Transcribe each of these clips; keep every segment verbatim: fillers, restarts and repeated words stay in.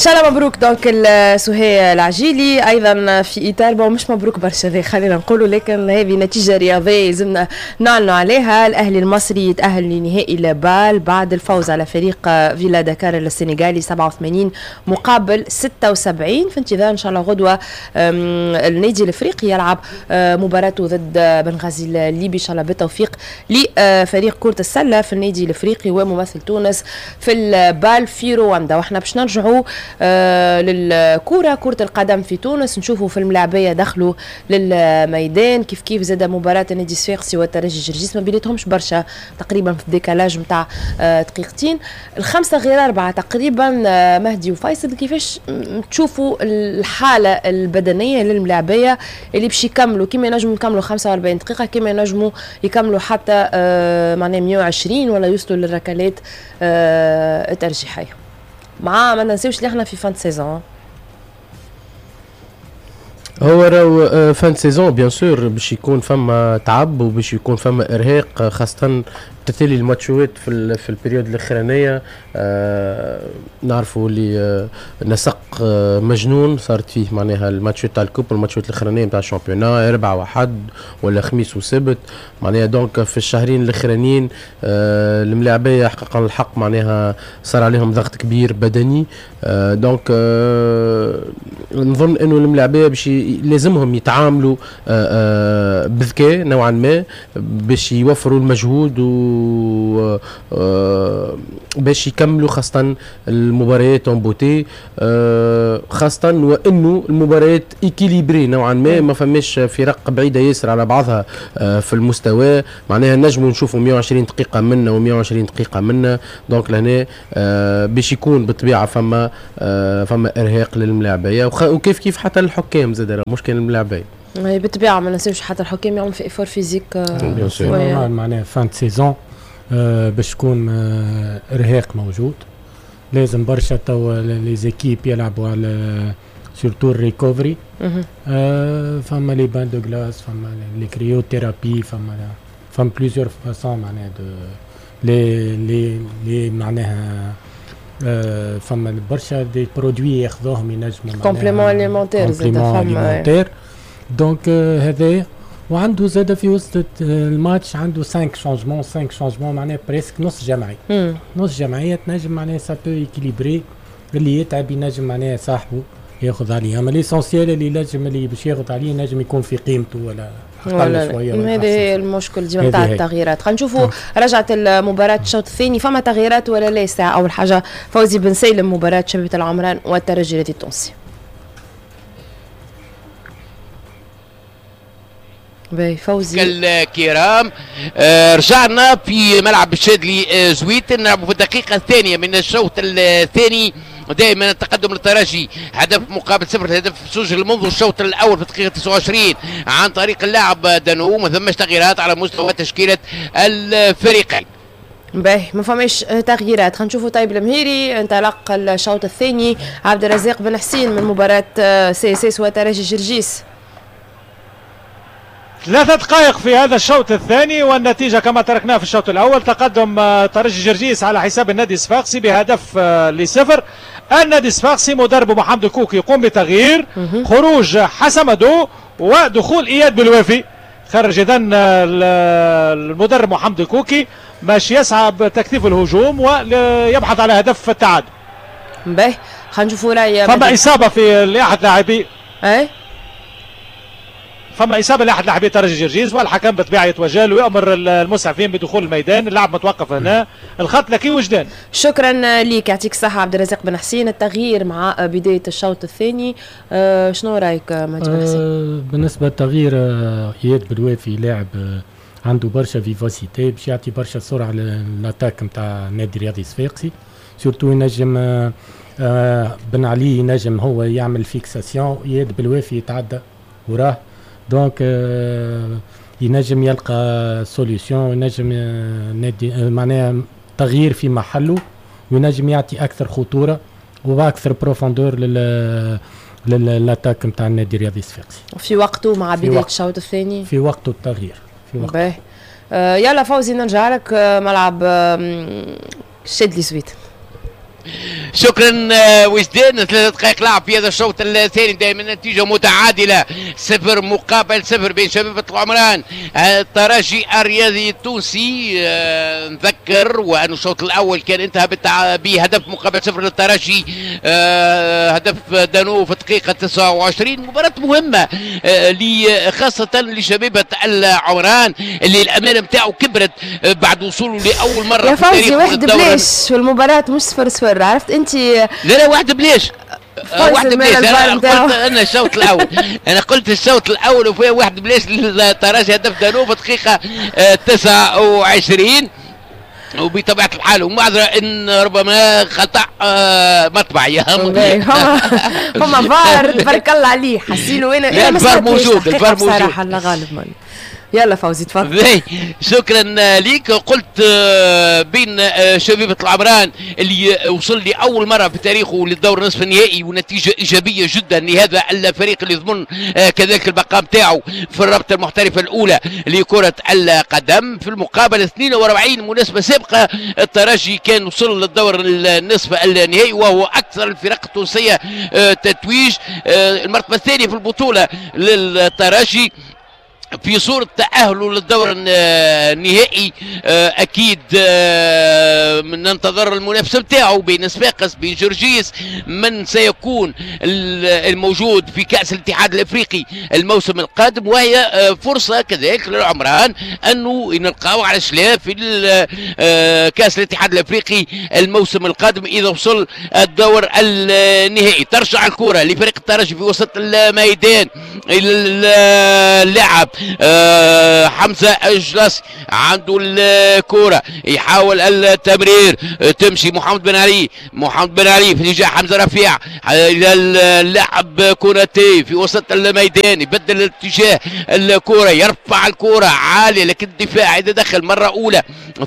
شاء الله مبروك donc سهيل العجيلي. ايضا في اطار bon مش مبروك برشا ذي خلينا نقولوا، لكن هذه نتيجة رياضية لازمنا نعلنوا عليها. الاهلي المصري يتاهل لنهائي ال BAL بعد الفوز على فريق فيلا دكار السنغالي سبعة وثمانين مقابل ستة وسبعين. في انتظار ان شاء الله غدوه النادي الافريقي يلعب مباراته ضد بنغازي الليبي، ان شاء الله بالتوفيق لفريق كره السلة في النادي الافريقي وممثل تونس في ال BAL في رواندا. واحنا باش نرجعوا آه للكرة، كرة القدم في تونس، نشوفوا في الملاعبية دخلوا للميدان كيف كيف زاد مباراة النادي الصفاقسي والترجي جرجيس ما بيناتهمش برشا تقريبا في ال décalage نتاع آه دقيقتين، الخمسة غير أربعة تقريبا. آه مهدي وفيصل، كيفاش تشوفوا الحالة البدنية للملاعبية اللي باش يكملوا؟ كيما ينجموا يكملوا خمسة وأربعين دقيقة، كيما ينجموا يكملوا حتى آه معناها مية وعشرين ولا يوصلوا للركلات آه الترجيحية، مع ما ننساوش اللي احنا في fin saison. هو راهو fin saison bien sûr باش يكون فما تعب وباش يكون فما ارهاق، خاصة تتالي الماتشوات في في ال période الاخرانية. آه نعرفوا اللي آه نسق آه مجنون صارت فيه معناها الماتشات تاع ال coupe والماتشات الاخرانية نتاع ال championnat، اربعة وحد ولا خميس وسبت معناها. donc في الشهرين الاخرانيين آه الملاعبيه حقا الحق معناها صار عليهم ضغط كبير بدني. آه donc آه نظن انه الملاعبيه باش لازمهم يتعاملوا آه آه بذكاء نوعا ما باش يوفروا المجهود و باش يكملوا خاصة المباريات en beauté، خاصة وانه المباريات équilibrées نوعا ما، ما فماش فرق بعيدة ياسر على بعضها في المستوى، معناها نجموا نشوفوا مية وعشرين دقيقة منا ومية وعشرين دقيقة منا. donc لهنا باش يكون بالطبيعة فما فما ارهاق للملاعبية وكيف كيف حتى الحكام زاد، مش كان الملاعبية. بالطبيعة ما ننساوش حتى الحكام يعملوا في effort physique معناها fin saison باش تكون ارهاق موجود، لازم برشا توا les équipes يلعبوا على surtout ال recovery. فما les bains de glace، فما les cryothérapies، فما فما plusieurs façons معناها de les les les معناها فما برشا des produits ياخذوهم ينجموا compléments alimentaires زاد فما donc هذايا. وعنده زاد في وسط الماتش عنده خمسة changements، خمسة changements معناها presque نص جمعية، نص جمعية تنجم معناها ça peut équilibrer، اللي يتعب ينجم معناها صاحبه ياخذ عليه، اما l'essentiel اللي ينجم اللي باش ياخذ عليه ينجم يكون في قيمته ولا اقل شوية. هذا هي المشكل ديما نتاع التغييرات. خلينا نشوفوا رجعت المباراة الشوط الثاني فما تغييرات ولا لا. ساعة اول حاجة فوزي بن سالم مباراة شبيبة العمران والترجي التونسي. باهي فوزي الكرام، آه رجعنا في ملعب الشاذلي آه زويت، نلعبوا في الدقيقة الثانية من الشوط الثاني. دائما التقدم للترجي هدف مقابل صفر، الهدف سجل منذ الشوط الاول في الدقيقة تسعة وعشرين عن طريق اللاعب دانو. ما ثماش تغييرات على مستوى تشكيلة الفريقين. باهي ما فماش تغييرات. خلينا نشوفوا طيب المهيري انطلق الشوط الثاني، عبد الرزاق بن حسين من مباراة CSS وترجي جرجيس. ثلاثة دقائق في هذا الشوط الثاني والنتيجة كما تركناها في الشوط الأول، تقدم ترجي جرجيس على حساب النادي الصفاقسي بهدف لصفر. النادي الصفاقسي مدربه محمد الكوكي يقوم بتغيير، خروج حسمدو ودخول إياد بالوافي. خرج إذن المدرب محمد الكوكي باش يسعى بتكثيف الهجوم ويبحث على هدف التعادل. باهي خلينا نشوفوا رأي. فما إصابة في لأحد لاعبي أي فما اصابه لاحد لاعبي ترجي جرجيس، والحكم بالطبيعة يتوجه له ويامر المسعفين بدخول الميدان. اللاعب متوقف هنا، الخط لك وجدان. شكرا لك، يعطيك الصحة عبد الرزاق بن حسين. التغيير مع بداية الشوط الثاني، أه شنو رايك مهدي بن حسين؟ أه بالنسبة للتغيير، اياد بالوافي لاعب عنده برشا vivacité باش يعطي برشا سرعة لل attaque نتاع النادي الرياضي الصفاقسي، surtout ينجم أه بن علي ينجم هو يعمل fixation، اياد بالوافي يتعدى وراه، donc ينجم يلقى solution، ينجم نادي معناها تغيير في محله، وينجم يعطي اكثر خطورة واكثر profondeur لل لل attaque نتاع النادي الرياضي الصفاقسي. في وقته مع بداية الشوط الثاني، في وقته التغيير في وقته. آه يلا فوزي نرجع لك ملعب شادلي زويت. شكرا وجدان. ثلاث دقائق لعب في هذا الشوط الثاني، دائما نتيجة متعادله صفر مقابل صفر بين شبيبة العمران الترجي الرياضي التونسي. نذكر وأن الشوط الاول كان انتهى بهدف مقابل صفر للترجي، هدف دانو في الدقيقة تسعة وعشرين. مباراة مهمة خاصة لشبيبه العمران اللي الامانة نتاعو كبرت بعد وصوله لاول مرة يا فوزي. واحد بلاش والمباراة مش صفر صفر، عرفت انت؟ لا لا واحد بلاش، واحد بلاش. انا قلت انا الشوط الاول، انا قلت الشوط الاول وفيها واحد بلاش للترجي، هدف دانو في دقيقة تسعة وعشرين. وبطبيعة الحال ومعذره ان ربما خطا مطبعي هما فار تبارك الله عليه حسيلو. انا الفار موجود، الفار موجود بصراحة الله غالب ماني. يلا فوزي تفضل. شكرا ليك. قلت بين شبيبة العمران اللي وصل لأول مرة في تاريخه للدور نصف النهائي، ونتيجة إيجابية جدا لهذا الفريق اللي يضمن كذلك البقاء نتاعو في الرابطة المحترفة الأولى لكرة القدم. في المقابل اثنين وأربعين مناسبة سابقة الترجي كان وصل للدور النصف النهائي، وهو أكثر الفرق التونسية تتويج، المرتبة الثانية في البطولة للترجي في صورة تأهله للدور النهائي. أكيد ننتظر المنافسة نتاعو بين صفاقس بين جرجيس، من سيكون الموجود في كأس الاتحاد الأفريقي الموسم القادم، وهي فرصة كذلك للعمران أنه نلقاو على شلاف في كأس الاتحاد الأفريقي الموسم القادم إذا وصل الدور النهائي. ترجع الكرة لفريق الترجي في وسط الميدان، اللاعب آه حمزة الجلاصي عنده الكرة، يحاول التمرير، تمشي محمد بن علي، محمد بن علي في اتجاه حمزة رفيع الى اللاعب كوناتي في وسط الميدان، يبدل الاتجاه الكرة، يرفع الكرة عالية لكن الدفاع يتدخل مرة أولى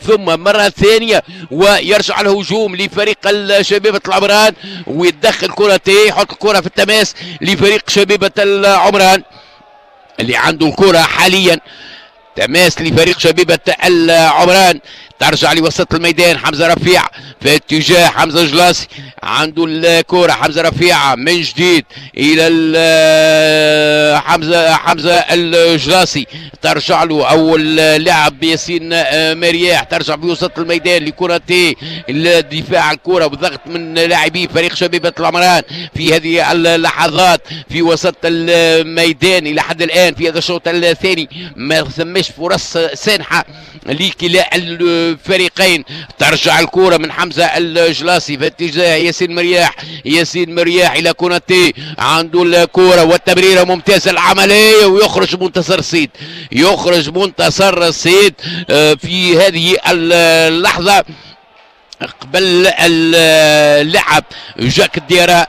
ثم مرة ثانية، ويرجع الهجوم لفريق شبيبة العمران ويتدخل كوناتي، يحط الكرة في التماس لفريق شبيبة العمران اللي عنده الكرة حاليا. تماس لفريق شبيبة العمران، ترجع لوسط الميدان حمزة رفيع في اتجاه حمزة جلاسي، عنده الكرة حمزة رفيع من جديد إلى حمزة حمزة الجلاسي، ترجع له أول لاعب ياسين مرياح، ترجع بوسط الميدان لكرتي، الدفاع الكرة وضغط من لاعبي فريق شبيبة العمران في هذه اللحظات في وسط الميدان. إلى حد الآن في هذا الشوط الثاني ما ثماش فرص سانحة لكلا الفريقين. ترجع الكرة من حمزة الجلاسي في اتجاه ياسين مرياح، ياسين مرياح إلى كوناتي، عنده الكرة والتمريرة ممتازة العملية، ويخرج منتصر السيد، يخرج منتصر السيد في هذه اللحظة قبل اللعب جاك الديارة.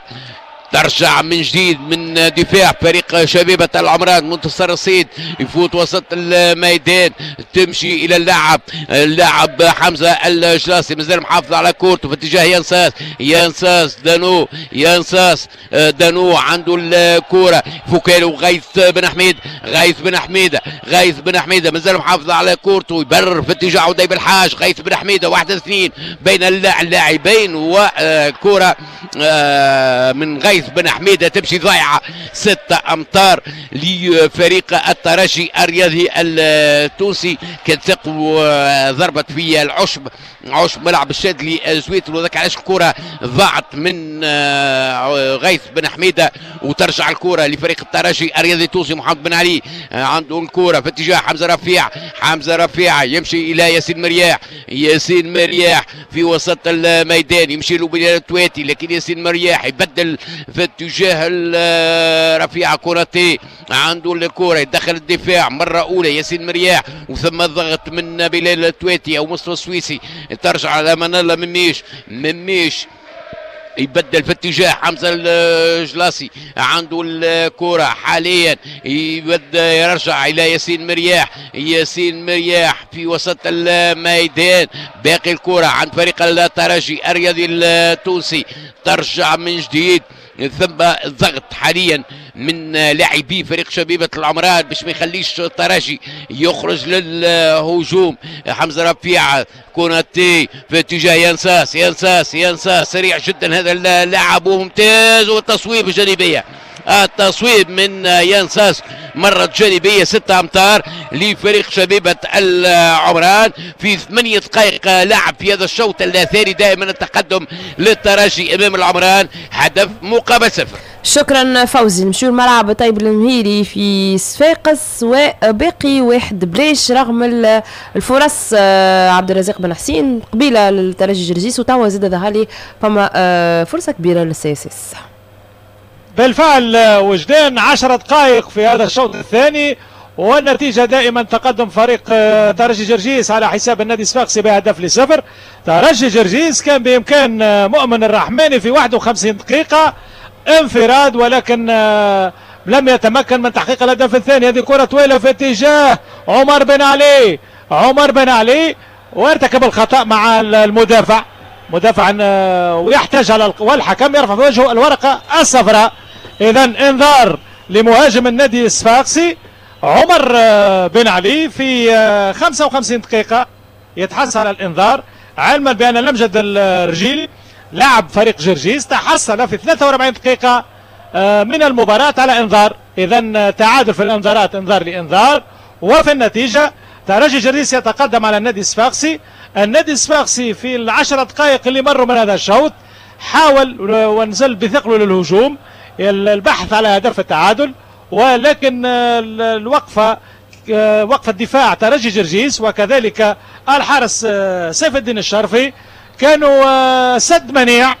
ترجع من جديد من دفاع فريق شبيبة العمران، منتصر الصيد يفوت وسط الميدان، تمشي إلى اللاعب اللاعب حمزة الجلاسي مازال محافظ على كورته في اتجاه ينساس، ينساس دانو، ينساس دانو عنده الكرة، فوكالو غيث بن حميد، غيث بن حميدة، غيث بن حميدة مازال محافظ على كورته، يبرر في اتجاه عدي بالحاج، غيث بن حميدة واحد اثنين بين اللاعبين، وكرة من غيث بن حميدة تمشي ضايعة. ستة أمتار لفريق الترجي الرياضي التونسي. كانت تقوى ضربت في العشب، عشب ملعب الشاذلي زويتر، وذاك علاش الكرة ضاعت من غيث بن حميدة، وترجع الكرة لفريق الترجي الرياضي التونسي. محمد بن علي عنده الكرة في اتجاه حمزة رفيع، حمزة رفيع يمشي إلى ياسين مرياح، ياسين مرياح في وسط الميدان يمشي له بلال التواتي، لكن ياسين مرياح يبدل في اتجاه رفيع كوناتي، عنده الكرة يدخل الدفاع مرة أولى ياسين مرياح، وثم الضغط من بلال التواتي أو مصطفى السويسي، ترجع على منالة مميش، مميش يبدل في اتجاه حمزة الجلاسي، عنده الكرة حاليا، يبدا يرجع إلى ياسين مرياح، ياسين مرياح في وسط الميدان، باقي الكرة عند فريق الترجي الرياضي التونسي، ترجع من جديد، ثم ضغط حاليا من لاعبي فريق شبيبة العمران باش ما يخليش الترجي يخرج للهجوم. حمزة رفيع، كوناتي في اتجاه ينساس، ينساس ينساس سريع جدا هذا اللاعب وممتاز، والتصويب الجانبية، التصويب من ينساس مرة جانبية ستة أمتار لفريق شبيبة العمران في ثمانية دقائق لعب في هذا الشوط الثاني. دائما التقدم للترجي أمام العمران هدف مقابل صفر. شكرا فوزي. نمشيو الملعب طيب المهيري في صفاقس وباقي واحد بلاش رغم الفرص. عبد الرزاق بن حسين قبيلة للترجي جرجيس، وتوا زاد ظهر لي فما فرصة كبيرة لل CSS. بالفعل وجدان، عشر دقائق في هذا الشوط الثاني والنتيجة دائما تقدم فريق ترجي جرجيس على حساب النادي الصفاقسي بهدف لصفر. ترجي جرجيس كان بإمكان مؤمن الرحماني في واحد وخمسين دقيقة انفراد، ولكن لم يتمكن من تحقيق الهدف الثاني. هذه كرة طويلة في اتجاه عمر بن علي، عمر بن علي وارتكب الخطأ مع المدافع، مدافع ويحتاج على، والحكم يرفع في وجهه الورقة الصفراء. إذا انذار لمهاجم النادي الصفاقسي عمر بن علي في خمسة وخمسين دقيقة يتحصل على الانذار، علما بأن لمجد الرجيلي لاعب فريق جرجيس تحصل في ثلاثة وأربعين دقيقة من المباراة على انذار. إذا تعادل في الانذارات، انذار لانذار، وفي النتيجة ترجي جرجيس يتقدم على النادي الصفاقسي. النادي الصفاقسي في العشر دقائق اللي مروا من هذا الشوط حاول ونزل بثقله للهجوم، البحث على هدف التعادل، ولكن الوقفة وقفة دفاع ترجي جرجيس وكذلك الحارس سيف الدين الشرفي كانوا سد منيع.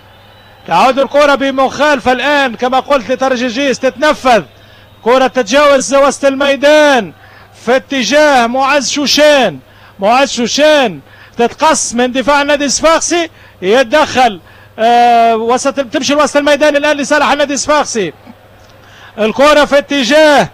تعود الكرة بمخالفة الآن كما قلت لترجي جرجيس، تتنفذ كرة تتجاوز وسط الميدان في اتجاه معز شوشان، معز شوشان تتقص من دفاع النادي الصفاقسي، يتدخل آه وسط، تمشي لوسط الميدان الآن لصالح النادي الصفاقسي. الكرة في اتجاه،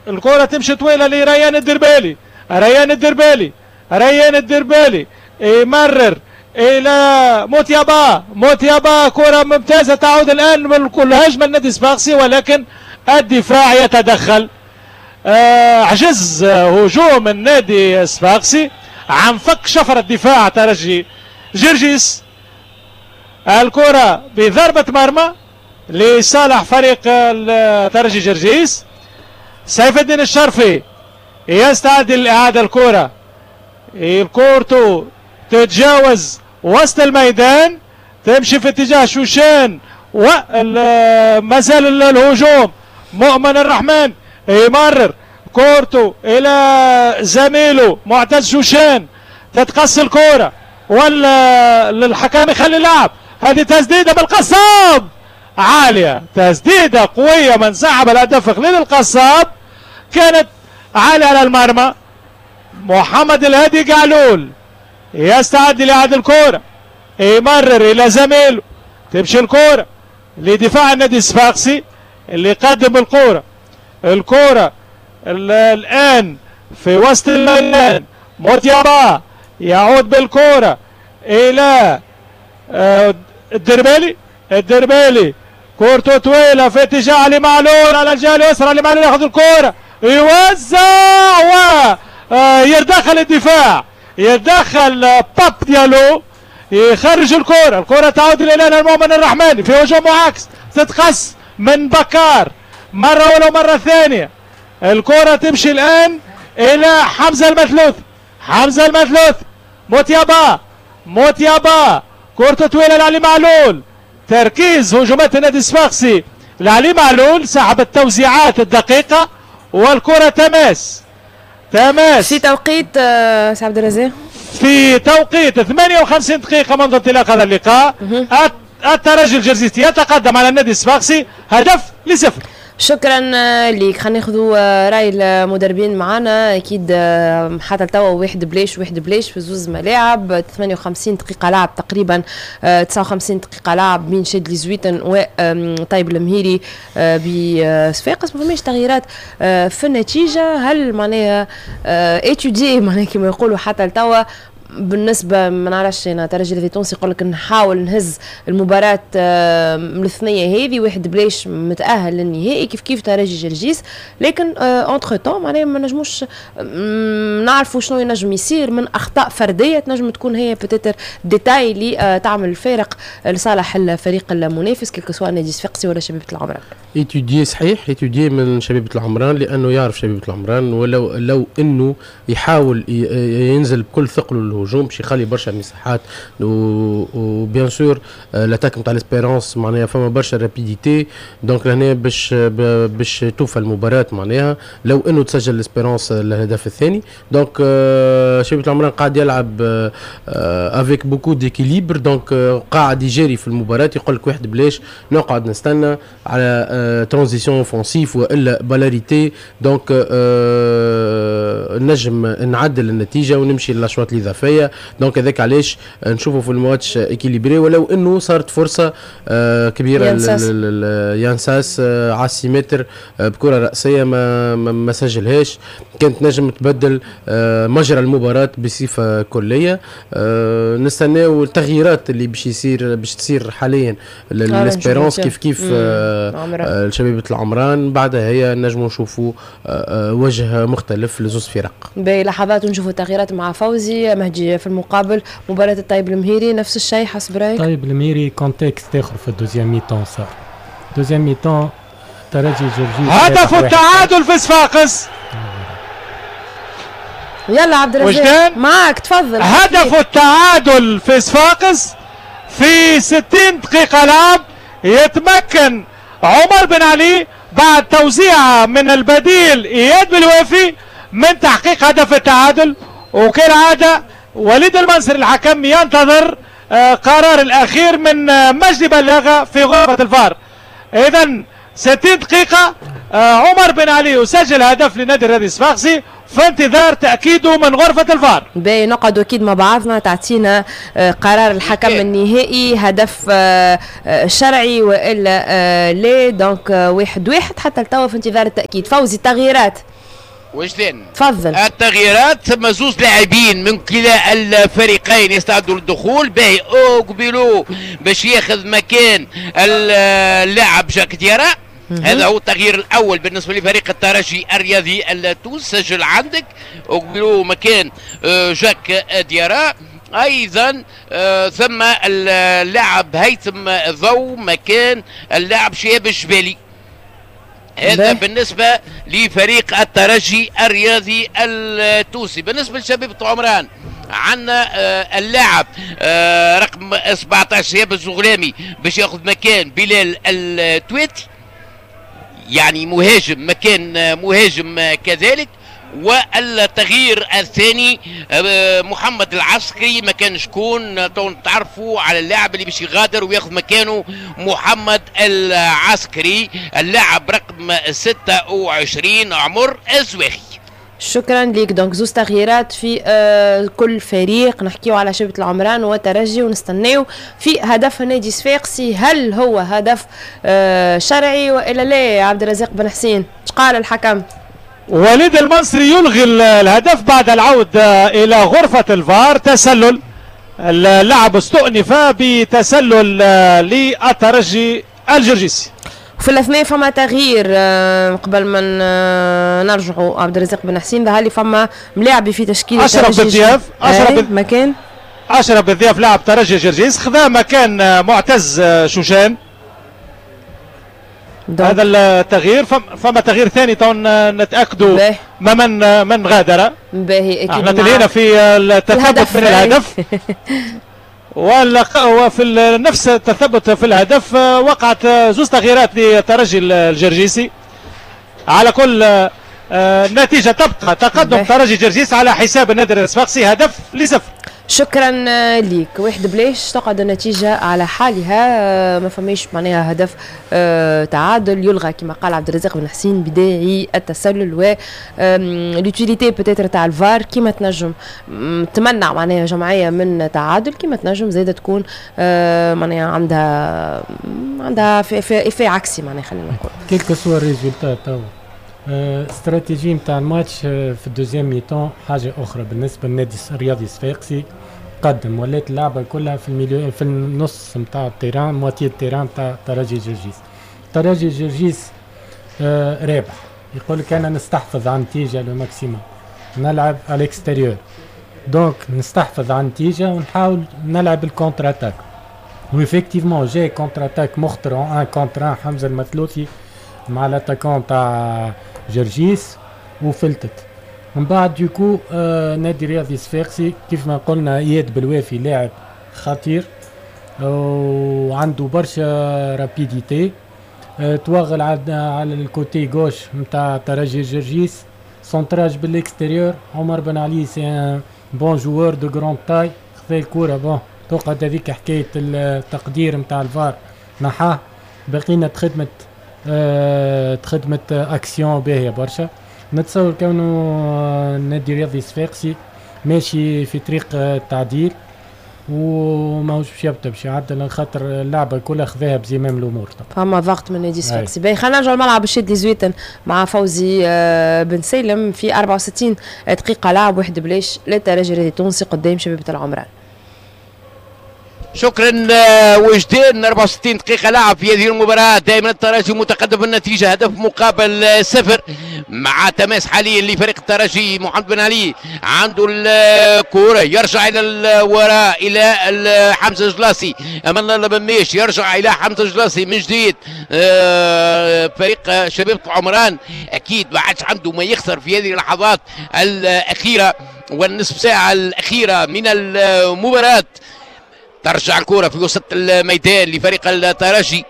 الكرة تمشي طويلة لريان الدربالي، ريان الدربالي، ريان الدربالي يمرر إلى موتيابا، موتيابا كرة ممتازة تعود الآن من كل هجمة النادي الصفاقسي، ولكن الدفاع يتدخل. آه عجز هجوم النادي الصفاقسي عن فك شفرة دفاع ترجي جرجيس. الكرة بضربة مرمى لصالح فريق ترجي جرجيس. سيف الدين الشرفي يستعد لإعادة الكرة، الكورتو تتجاوز وسط الميدان، تمشي في اتجاه شوشان، وما زال الهجوم. مؤمن الرحمن يمرر كورتو الى زميله معتز شوشان، تتقص الكرة ولا الحكم يخلي اللعب. هذه تسديده بالقصاب عالية، تسديده قوية من سحب الهدف خليل القصاب، كانت عالية على المرمى. محمد الهادي قعلول يستعد لإعادة الكرة، يمرر الى زميله، تمشي الكرة لدفاع النادي الصفاقسي اللي يقدم الكرة. الكرة الآن في وسط الميدان، موتيابا يعود بالكرة إلى الدربالي، الدربالي كورته طويلة في اتجاه علي معلول على الجهة اليسرى، علي معلول ياخذ الكرة يوزع ويتدخل الدفاع، يتدخل باب ديالو يخرج الكرة. الكرة تعود إلى المؤمن الرحماني في هجوم معاكس، تتقص من بكار مرة ولو مرة ثانية. الكرة تمشي الآن إلى حمزة المثلوث، حمزة المثلوث، موتيابا، موتيابا كرة طويلة لعلي معلول. تركيز هجومات النادي الصفاقسي لعلي معلول، سحب التوزيعات الدقيقة والكرة تماس، تماس في توقيت سي عبد الرزاق، في توقيت ثمانية وخمسين دقيقة منذ انطلاق هذا اللقاء. الترجي الجرجيسي يتقدم على النادي الصفاقسي هدف لصفر. شكرا ليك. خلينا ناخذوا راي المدربين معنا. اكيد حتى توا واحد بلاش واحد بلاش في زوز ملاعب، ثمانية وخمسين دقيقة لعب تقريبا، تسعة وخمسين دقيقة لعب بين شادلي زويتن وطيب المهيري بصفاقس. ما فماش تغييرات في النتيجة. هل معناها étudié معناها كما يقولوا حتى لتوا بالنسبة ما نعرفش انا ترجي الرياضي التونسي يقول لك نحاول نهز المباراة من الثنية هذه، واحد بلاش متاهل للنهائي كيف كيف ترجي جرجيس، لكن entre-temps معناها ما نجموش نعرفوا شنو ينجم يصير من اخطاء فردية تنجم تكون هي peut-être détail اللي تعمل الفارق لصالح الفريق المنافس، quel que soit نادي صفاقسي ولا شبيبة العمران. étudié صحيح، étudié من شبيبة العمران، لانه يعرف شبيبة العمران، ولو لو انه يحاول ينزل بكل ثقله للهجوم باش يخلي برشا مساحات، و bien sûr l'attaque نتاع l'Espérance معناها فما برشا rapidité، donc لهنا باش باش توفى المباراة معناها لو انه تسجل l'Espérance الهدف الثاني. donc شبيبة العمران قاعد يلعب avec beaucoup d'équilibre، donc قاعد يجاري في المباراة، يقول لك واحد بلاش نقعد نستنى على transition offensive والا balle arrêtée، donc نجم نعدل النتيجة ونمشي للاشواط الاضافيه. donc هذاك علاش نشوفوا في ال match équilibré، ولو انه صارت فرصة كبيرة يانساس على six mètres بكره راسية ما ما سجلهاش، كانت نجم تبدل مجرى المباراة بصفة كليه. نستناو التغييرات اللي باش يصير باش تصير حاليا l'Espérance كيف كيف شبيبة العمران، بعدها هي نجموا نشوفوا وجه مختلف لزوز فرق. باهي، لحظات ونشوفوا التغييرات مع فوزي مهدي. في المقابل مباراة الطيب المهيري نفس الشيء حسب رايك؟ طيب المهيري contexte اخر في ال deuxième mi-temps، صار deuxième mi-temps ترجي جرجيس هدف التعادل في صفاقس. يلا عبد الرزاق معك تفضل. هدف التعادل في صفاقس في ستين دقيقة لعب، يتمكن عمر بن علي بعد توزيعه من البديل اياد بالوافي من تحقيق هدف التعادل، وكالعادة وليد المنصري الحكم ينتظر قرار الاخير من مجدي بلاغه في غرفة الفار. اذا ستين دقيقة عمر بن علي يسجل هدف لنادي الرياضي الصفاقسي في انتظار تاكيده من غرفة الفار. باهي، نقعدوا اكيد مع بعضنا تعطينا قرار الحكم النهائي، هدف شرعي والا لا. donc واحد واحد حتى لتوا في انتظار التاكيد. فوزي التغييرات وجدان تفضل. التغييرات ثم زوز لاعبين من كلا الفريقين يستعدوا للدخول. باهي اوغبيلو باش ياخذ مكان اللاعب جاك ديارا، هذا هو التغيير الاول بالنسبة لفريق الترجي الرياضي التونسي. سجل عندك اوغبيلو مكان جاك ديارا. ايضا ثم اللاعب هيثم ضو مكان اللاعب شهاب الجبالي. هذا بالنسبة لفريق الترجي الرياضي التونسي. بالنسبة لشبيبة عمران عندنا اللاعب رقم سبعة عشر شهاب الزغلامي باش ياخذ مكان بلال التويتي، يعني مهاجم مكان مهاجم كذلك. والتغيير الثاني محمد العسكري مكان شكون؟ تعرفوا على اللاعب اللي باش يغادر وياخذ مكانه محمد العسكري، اللاعب رقم ستة وعشرين عمر الزواخي. شكرا لك. donc زوز تغييرات في آه كل فريق، نحكيو على شبيبة العمران وترجي، ونستناو في هدف النادي صفاقسي، هل هو هدف آه شرعي والا لا؟ عبد الرزاق بن حسين، ايش قال الحكم؟ وليد المنصري يلغي الهدف بعد العودة إلى غرفة الفار. تسلل، اللاعب استؤنف بتسلل للترجي الجرجيسي. وفي الاثناء فما تغيير قبل ما نرجعوا عبد الرزاق بن حسين، ظهر لي فما ملاعبي في تشكيله اشرف بالضياف، اشرف مكان اشرف بالضياف لاعب ترجي جرجيس خذا مكان معتز شوشان. هذا التغيير. فما تغيير ثاني تو نتاكدوا ما من من غادر. باهي اكيد احنا تلهينا في التثبت من الهدف وفي نفس التثبت في الهدف وقعت زوج تغييرات للترجي الجرجيسي. على كل النتيجة تبقى تقدم ترجي جرجيس على حساب النادي الصفاقسي هدف لصفر. شكرا ليك. واحد بلاش تقعد النتيجة على حالها، ما فماش معناها هدف تعادل يلغى كما قال عبد الرزاق بن حسين بداعي التسلل و l'utilité peut-être تاع الفار كيما تنجم تمنع معناها جمعية من تعادل، كيما تنجم زاده تكون معناها عندها عندها في effet عكسي معناها خلينا نقول. quel que soit résultat تو استراتيجي نتاع الماتش في ال deuxième mi-temps حاجة اخرى بالنسبة للنادي الرياضي الصفاقسي. قدم ولات اللعبة كلها في ال milieu، في النص نتاع ال terrain، moitié ال terrain نتاع ترجي جرجيس. ترجي جرجيس آه رابح، يقول لك انا نستحفظ على النتيجة le maximum، نلعب à l'extérieur، donc نستحفظ على النتيجة ونحاول نلعب ال contre-attaque. و effectivement جاي contre-attaque مخطر un contre un، حمزة المثلوثي مع l'attaquant تاع جرجيس وفلتت. من بعد du coup آه نادي رياضي صفاقسي كيف ما قلنا اياد بالوافي لاعب خطير وعنده برشا rapidité، آه توغل على على ال côté gauche نتاع ترجي جرجيس، centrage بال extérieur، عمر بن علي c'est un bon joueur de grande taille، خذا الكورة. bon تقعد هذيك حكاية التقدير نتاع الفار نحاه، بقينا تخدمت آه تخدمت اكسيون باهيه برشا. نتصور كونه النادي الرياضي الصفاقسي ماشي في طريق التعديل وماهوش باش يبدا باش يعدل، خاطر اللعبة كلها خذاها بزمام الامور. فما ضغط من النادي الصفاقسي. باهي، خلينا نرجعوا الملعب الشاذلي زويتن مع فوزي آه، بن سالم في أربعة وستين دقيقة لعب، واحد بلاش للترجي الرياضي التونسي قدام شبيبة العمران. شكرا آه، وجدان. أربعة وستين دقيقة لعب في هذه المباراة، دائما الترجي متقدم بالنتيجة هدف مقابل آه، صفر، مع تماس حاليا لفريق الترجي. محمد بن علي عنده الكرة، يرجع إلى الوراء إلى حمزة جلاسي، أمان الله بميش يرجع إلى حمزة جلاسي من جديد. آه، فريق شبيبة العمران أكيد ما عادش عنده ما يخسر في هذه اللحظات الأخيرة والنصف ساعة الأخيرة من المباراة. ترجع الكرة في وسط الميدان لفريق الترجي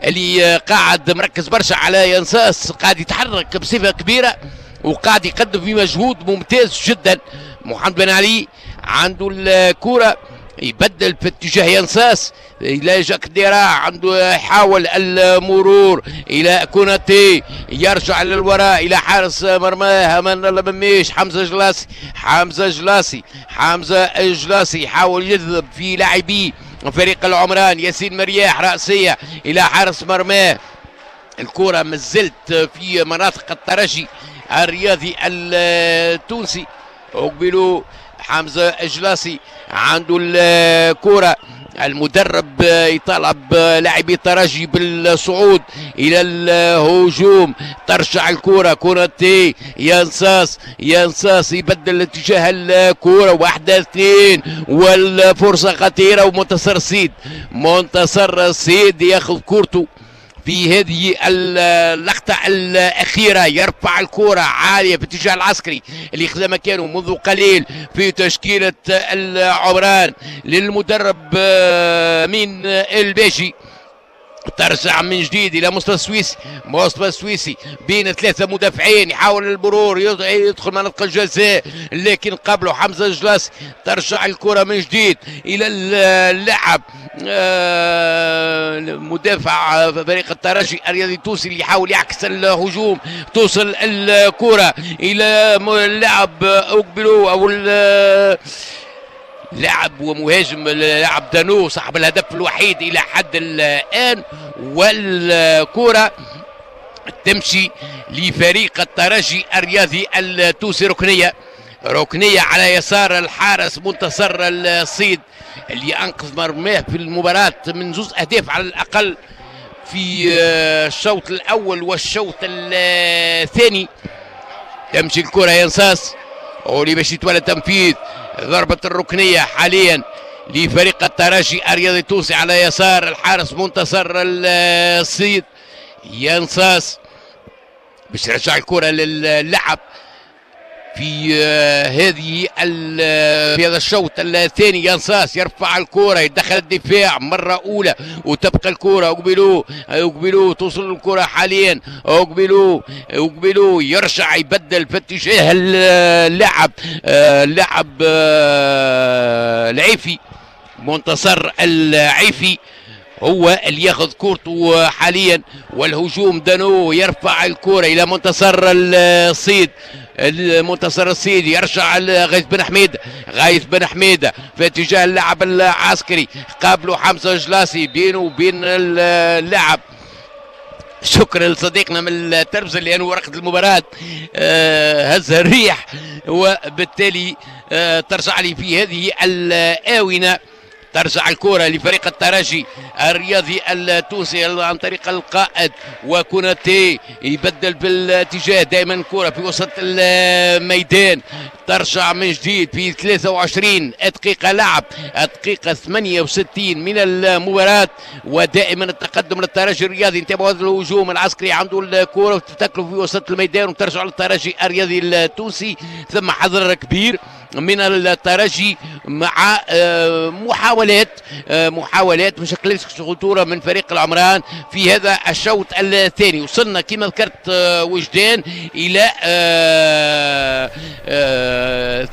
اللي قاعد مركز برشا على ينساس، قاعد يتحرك بصفة كبيرة وقاعد يقدم في مجهود ممتاز جدا. محمد بن علي عنده الكرة، يبدل في اتجاه ينساس الى جاك ديرا، عنده يحاول المرور الى كوناتي، يرجع للوراء الى حارس مرماه امان الله مميش. حمزة جلاسي، حمزة جلاسي، حمزة جلاسي يحاول يجذب في لاعبي فريق العمران. ياسين مرياح، راسية الى حارس مرماه. الكره مازلت في مناطق الترجي الرياضي التونسي. اقبلوا حمزة جلاسي عنده الكره، المدرب يطالب لاعبي الترجي بالصعود الى الهجوم. ترجع الكره كوناتي، ينساس، ينساس يبدل اتجاه الكره، واحدة اثنين والفرصة خطيره، ومنتصر السيد، منتصر السيد ياخذ كورته في هذه اللقطة الأخيرة، يرفع الكرة عالية في اتجاه العسكري اللي خذا مكانه منذ قليل في تشكيلة العمران للمدرب آه، أمين الباجي. ترجع من جديد الى مصطفى السويسي، مصطفى السويسي بين ثلاثة مدافعين، يحاول المرور، يدخل منطقة الجزاء لكن قبله حمزة جلاس. ترجع الكره من جديد الى اللاعب آه، مدافع فريق الترجي الرياضي التونسي اللي يحاول يعكس الهجوم. توصل الكره الى اللاعب اوكبلو او لاعب ومهاجم لاعب دانو صاحب الهدف الوحيد الى حد الان، والكره تمشي لفريق الترجي الرياضي التونسي. ركنيه، ركنيه على يسار الحارس منتصر الصيد اللي انقذ مرماه في المباراة من زوز اهداف على الاقل في الشوط الاول والشوط الثاني. تمشي الكره ينساس واللي باش يتولى تنفيذ ضربة الركنية حاليا لفريق الترجي الرياضي التونسي على يسار الحارس منتصر الصيد. ينصاص باش يرجع الكرة للعب في آه، هذه في هذا الشوط الثاني. ينصاص يرفع الكرة، يدخل الدفاع مرة أولى وتبقى الكرة. اقبلوا، اقبلوا، توصل الكرة حاليا، اقبلوا، اقبلوا يرجع يبدل في اتجاه اللاعب آه، اللاعب آه، العيفي. منتصر العيفي هو اللي ياخذ كورته حاليا، والهجوم دانو يرفع الكرة الى منتصر الصيد. المنتصر الصيد يرجع غيث بن حميد، غيث بن حميده في اتجاه اللاعب العسكري، قابله حمزة جلاسي بينه وبين اللاعب. شكرا لصديقنا من التربزة لأنه ورقة المباراة هزها الريح، وبالتالي ترجع لي في هذه الآونة. ترجع الكرة لفريق الترجي الرياضي التونسي عن طريق القائد وكوناتي، يبدل بالاتجاه دائما كرة في وسط الميدان، ترجع من جديد في ثلاثة وعشرين دقيقة لعب، الدقيقة ثمانية وستين من المباراة، ودائما التقدم للترجي الرياضي. انتبهوا هذا الهجوم العسكري، عنده الكرة وتتكلف في وسط الميدان وترجع للترجي الرياضي التونسي. ثم حذر كبير من الترجي مع محاولات محاولات ما شكلتش خطورة من فريق العمران في هذا الشوط الثاني. وصلنا كما ذكرت وجدان الى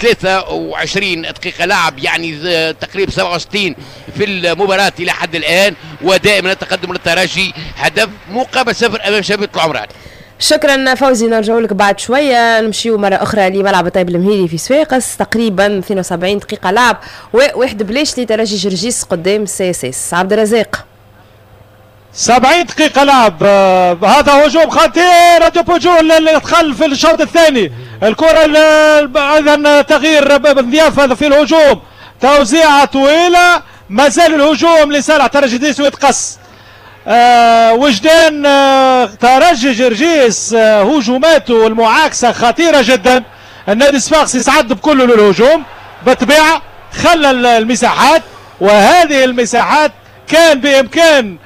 ثلاثة وعشرين دقيقة لعب، يعني تقريبا سبعة وستين في المباراة الى حد الان، ودائما التقدم للترجي هدف مقابل صفر امام شبيبة العمران. شكرا فوزي، نرجع لك بعد شوية. نمشيو مرة اخرى لملعب الطيب المهيري في صفاقس، تقريبا اثنين وسبعين دقيقة لعب وواحد بلاش لترجي جرجيس قدام CSS. عبد الرزاق، سبعين دقيقة لعب، هذا هجوم خطير ديبوجو اللي دخل في الشوط الثاني، الكره ايضا تغيير بن في الهجوم، توزيعه طويلة، ما زال الهجوم لصالح ترجي جرجيس ويتقص. آه وجدان، آه ترجي جرجيس آه هجوماته المعاكسة خطيرة جدا. النادي الصفاقسي صعد بكله للهجوم بالطبيعة، خلى المساحات، وهذه المساحات كان بامكان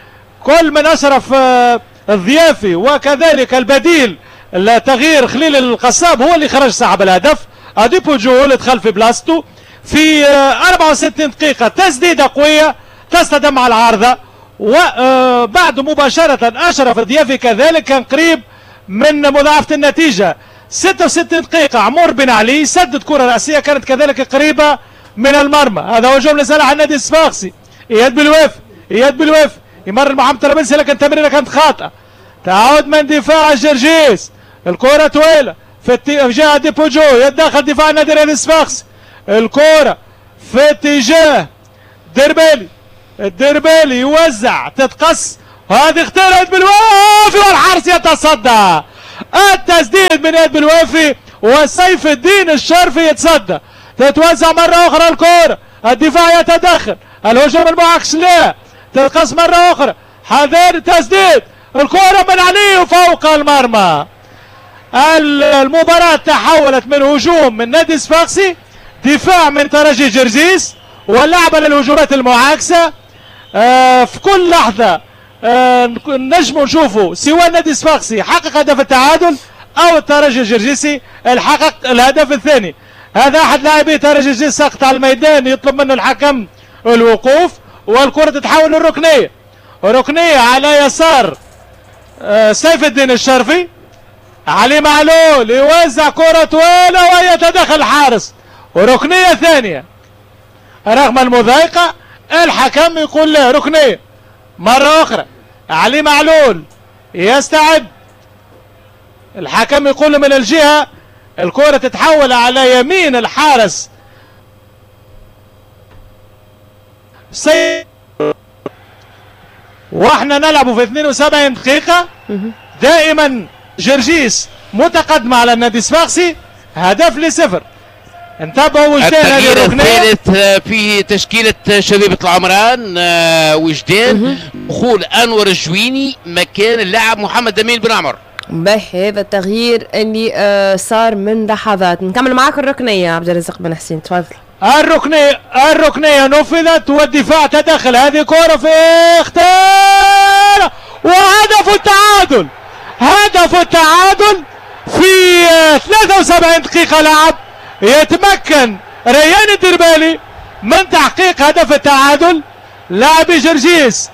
كل من اشرف آه الضيافي وكذلك البديل التغيير خليل القصاب هو اللي خرج صاحب الهدف. اديبوجو اللي دخل في بلاصته في آه أربعة وستين دقيقة، تسديده قوية تصطدم مع العارضة، وبعده مباشرة أشرف الضيافي كذلك كان قريب من مضاعفة النتيجة. ستة وستين دقيقة عمر بن علي سدد كرة رأسية كانت كذلك قريبة من المرمى. هذا هجوم لصالح النادي الصفاقسي، إياد بالوافي، إياد بالوافي يمر محمد طرابلسي لكن التمريرة كانت خاطئة، تعود من دفاع جرجيس، الكرة طويلة في اتجاه ديبوجو، يتدخل دفاع النادي الرياضي الصفاقسي، الكرة في اتجاه دربالي، الدربالي يوزع تتقص، هذه اخترت بالوافي والحارس يتصدى. التسديد من اياد بالوافي وسيف الدين الشرفي يتصدى. تتوزع مرة أخرى الكرة، الدفاع يتدخل، الهجوم المعاكس لا، تتقص مرة أخرى، حذر تسديد، الكرة من علي وفوق المرمى. المباراة تحولت من هجوم من نادي صفاقسي، دفاع من ترجي جرجيس، واللعبة للهجومات المعاكسة. آه في كل لحظة آه نجموا نشوفوا سواء النادي الصفاقسي حقق هدف التعادل أو الترجي الجرجيسي الحقق الهدف الثاني. هذا أحد لاعبي ترجي جرجيس سقط على الميدان، يطلب منه الحكم الوقوف، والكرة تتحول للركنية. ركنية على يسار آه سيف الدين الشرفي، علي معلول يوزع كرة طويلة ويتدخل الحارس، وركنية ثانية رغم المضايقة الحكم يقول له ركنية. مرة أخرى علي معلول يستعد، الحكم يقول من الجهة، الكرة تتحول على يمين الحارس سي... واحنا نلعب في اثنين وسبعين دقيقة. دائما جرجيس متقدمة على النادي الصفاقسي هدف لصفر. انتبهوا وجدان، هذه الركنيه الثالث في تشكيله شبيبة العمران وجدان، دخول انور الجويني مكان اللاعب محمد امين بن عمر. باهي، هذا التغيير اللي صار من لحظات. نكمل معاك الركنيه عبد الرزاق بن حسين، تفضل. الركنيه الركنيه نفذت والدفاع تدخل، هذه كره في اختيار وهدف التعادل، هدف التعادل في ثلاثة وسبعين دقيقة لعب. يتمكن ريان الدربالي من تحقيق هدف التعادل. لاعبي جرجيس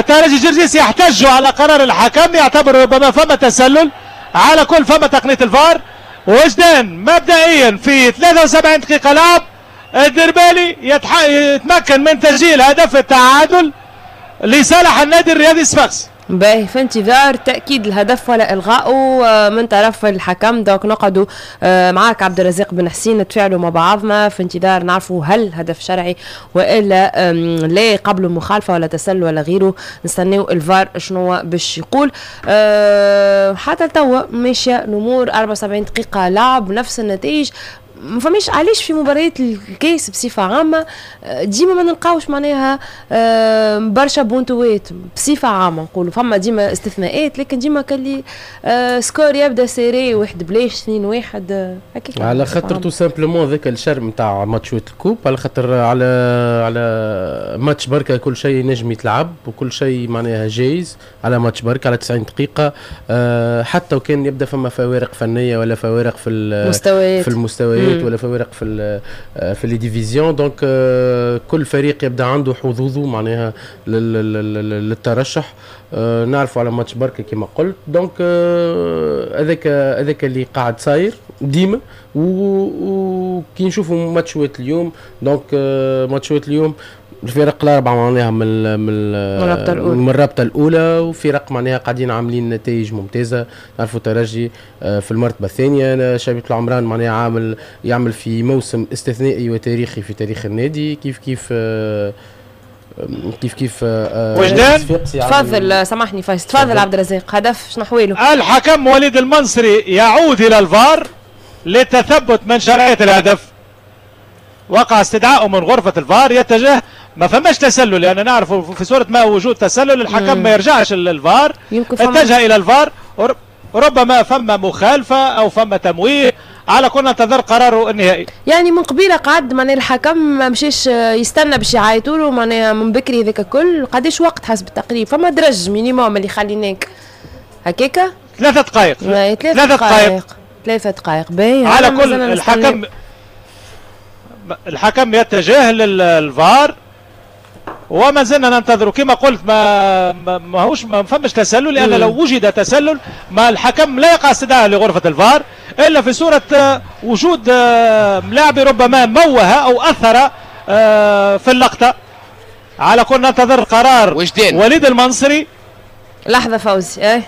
ترجي جرجيس يحتجوا على قرار الحكم، يعتبر ربما فما تسلل، على كل فما تقنية الفار. وجدان مبدئيا في ثلاثة وسبعين دقيقة لعب الدربالي يتمكن من تسجيل هدف التعادل لصالح النادي الرياضي الصفاقسي. باهي، في انتظار تاكيد الهدف ولا الغائه من طرف الحكم. donc نقعدوا معاك عبد الرزاق بن حسين، نتفاعلوا مع بعضنا في انتظار نعرفوا هل هدف شرعي والا لا، قبل مخالفة ولا تسلل ولا غيره. نستناو الفار شنو باش يقول. حتى توا ماشية الامور، أربعة وسبعين دقيقة لعب، نفس النتائج. ما فماش علاش في مباريات الكاس بصفة عامة ديما ما نلقاوش معناها برشا بونتوات بصفة عامة، نقولوا فما ديما استثناءات، لكن ديما كاللي score يبدا serré، واحد بلاش، اثنين واحد هكاك. على خاطر tout simplement ذاك ال charme نتاع ماتشات ال coupe، على خاطر على على ماتش بركة كل شيء نجم يتلعب وكل شيء معناها جايز على ماتش بركة على تسعين دقيقة. حتى وكان يبدا فما فوارق فنية ولا فوارق في المستويات في المستويات ولا فوارق في في les divisions، donc كل فريق يبدا عنده حظوظه معناها للترشح. نعرفوا على ماتش بركة كما قلت، donc هذاك هذاك اللي قاعد صاير ديما. وكي نشوفوا ماتشات اليوم، donc ماتشات اليوم الفرق الاربعة معناها من من الرابطة الاولى من الرابطة الاولى، وفرق معناها قاعدين عاملين نتائج ممتازة. نعرفوا ترجي في المرتبة الثانية، شبيبة العمران معناها عامل يعمل في موسم استثنائي وتاريخي في تاريخ النادي، كيف كيف كيف كيف وجدان. تفضل، سامحني فايز، تفضل عبد الرزاق. هدف شنو حواله؟ الحكم وليد المنصري يعود الى الفار للتثبت من شرعية الهدف. وقع استدعاؤه من غرفة الفار، يتجه، ما فماش تسلل، لأن نعرف في صورة ما وجود تسلل الحكم ما يرجعش للفار، اتجه إلى الفار، ربما فما مخالفة أو فما تمويه. على كل ننتظر قراره النهائي. يعني من قبيلة قعد معناها الحكم ما مشاش يستنى باش يعيطوا له، معناها من بكري هذاك الكل. قداش وقت حسب التقريب؟ فما درج minimum اللي خليناك هكاكا؟ ثلاثة دقائق. ثلاثة دقائق ثلاثة دقائق باهي. على كل الحكم الحكم يتجه للفار وما زلنا ننتظر. كما قلت ما ما هوش ما فماش تسلل، لان لو وجد تسلل ما الحكم لا يقع استدعاء لغرفة الفار الا في صوره وجود ملاعب ربما موه او اثر في اللقطة. على كل ننتظر قرار وجدين. وليد المنصري. لحظة فوزي، ايه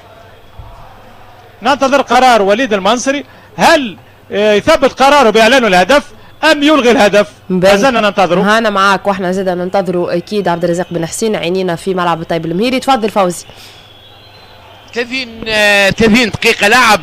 ننتظر قرار وليد المنصري، هل يثبت قراره باعلانه الهدف أم يلغي الهدف؟ ما زلنا ننتظره. هانا معاك واحنا زاد ننتظروا أكيد. عبد الرزاق بن حسين عينينا في ملعب الطيب المهيري. تفضل فوزي. ثلاثين ثلاثين دقيقة لعب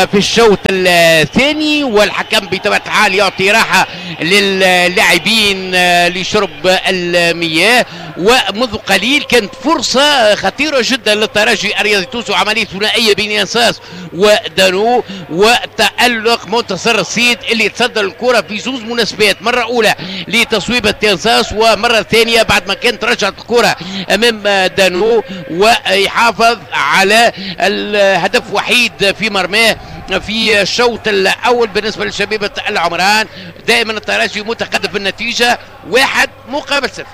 في الشوط الثاني، والحكم بطبيعة الحال يعطي راحة للاعبين لشرب المياه. ومنذ قليل كانت فرصة خطيرة جدا للترجي الرياضي التونسي، وعملية ثنائية بين ينساس ودانو، وتألق منتصر السيد اللي تصدر الكرة في زوز مناسبات، مرة أولى لتصويبة ينساس، ومرة ثانية بعد ما كانت رجعت الكرة أمام دانو، ويحافظ على الهدف وحيد في مرماه في الشوط الأول بالنسبة لشبيبة العمران. دائما الترجي متقدم في النتيجة واحد مقابل صفر.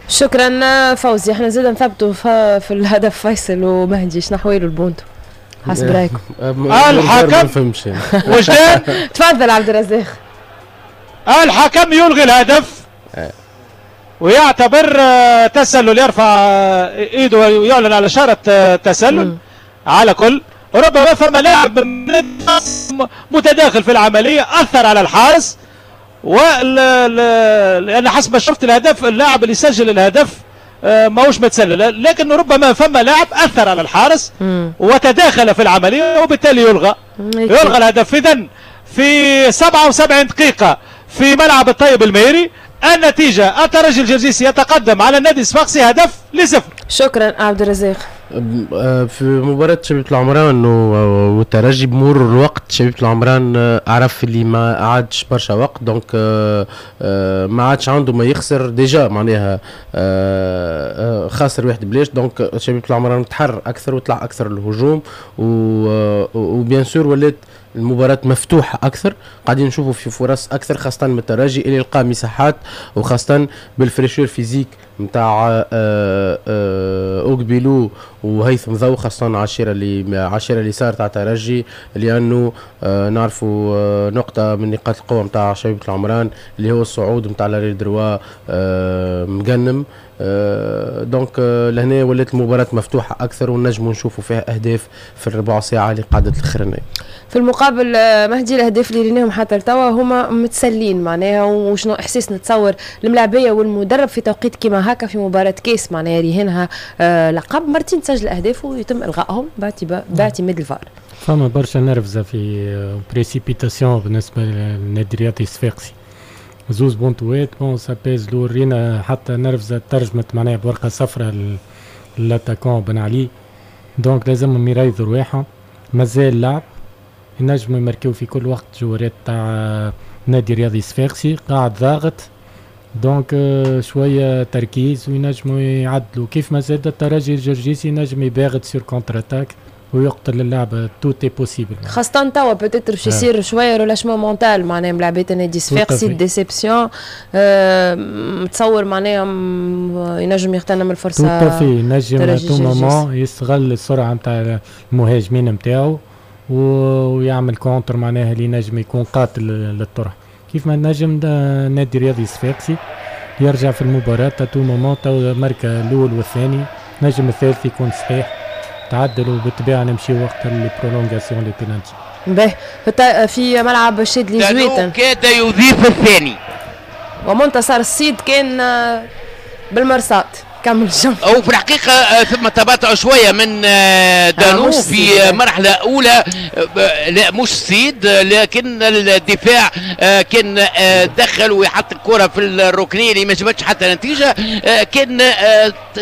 شكرا فوزي. احنا زاد نثبتوا في الهدف فيصل ومهدي، شنو حوالو البونتو حسب رايكم؟ الحكم وجدان. تفضل عبد الرزاق. الحكم يلغي الهدف ويعتبر تسلل، يرفع ايده ويعلن على اشارة تسلل. على كل ربما فما لاعب متداخل في العملية اثر على الحارس، لان حسب ما شفت الهدف اللاعب اللي سجل الهدف ماهوش متسلل، لكن ربما فما لاعب اثر على الحارس وتداخل في العملية وبالتالي يلغى يلغى الهدف. اذا في سبعة وسبعين دقيقة في ملعب الطيب المهيري النتيجة الترجي الجرجيسي يتقدم على النادي الصفاقسي هدف لصفر. شكرا عبد الرزاق. في مباراة شبيبة العمران والترجي بمرور الوقت شبيبة العمران عرف اللي ما عادش برشا وقت، donc ما عادش عنده ما يخسر déjà، معناها خاسر واحد بلاش، donc شبيبة العمران تحرر أكثر وطلع أكثر الهجوم، و bien sûr ولات المباراة مفتوحة أكثر، قاعدين نشوفوا في فرص أكثر خاصة من الترجي اللي لقى مساحات، وخاصة بال fraîcheur physique نتاع أوكبيلو وهيثم ضو، خاصة عشيرة اللي عشيرة اللي صارت على الترجي، لأنه نعرفوا نقطة من نقاط القوة نتاع شبيبة العمران اللي هو الصعود نتاع l'arrière droit مقنم. آه donc لهنا ولات المباراة مفتوحة اكثر ونجموا نشوفوا فيها اهداف في الربع ساعة اللي قعدت الاخرانية. في المقابل مهدي، الاهداف اللي ريناهم حتى لتوا هما متسلين معناها، وشنو احساس نتصور الملاعبيه والمدرب في توقيت كيما هكا في مباراة كاس معناها رهنها آه لقب، مرتين تسجل اهداف ويتم الغائهم باعتماد الفار. فما برشا نرفزه في précipitation بالنسبة للنادي الرياضي الصفاقسي، زوز بونتوات bon ça pèse lourd. رينا حتى نرفزه ترجمت معناها بورقه صفراء l'attaquant بن علي، donc لازمهم يريضوا رواحهم، مازال لعب، ينجموا يماركيو في كل وقت. جوارات تاع نادي الرياضي الصفاقسي قاعد ضاغط، donc شوية تركيز وينجموا يعدلوا. كيف ما زاد الترجي الجرجيسي ينجم يباغت sur contre-attaque ويقتل اللعبه، tout est possible. خاصة توا peut-être باش يصير شوية relâchement mental معناها ملاعبية النادي الصفاقسي، déception متصور معناها ينجم يغتنم الفرصة. tout à fait، ينجم à tout moment يستغل السرعة نتاع المهاجمين نتاعو ويعمل contre معناها اللي ينجم يكون قاتل للطرح. كيف ما نجم النادي الرياضي الصفاقسي يرجع في المباراة à tout moment، تو ماركا الأول والثاني، نجم الثالث يكون صحيح، تعدلوا بالطبيعة نمشي وقت les prolongations، les penaltys. باهي، في ملعب الشادلي زويتن كاد يضيف الثاني ومنتصر الصيد كان بالمرصاد. كمل الجمل. او في الحقيقة آه، ثم تباطؤ شوية من آه، دانو آه في مرحلة اولى، آه، لا مش سيد، لكن الدفاع كان دخل ويحط الكره في الركنيه اللي ما جابتش حتى نتيجة. كان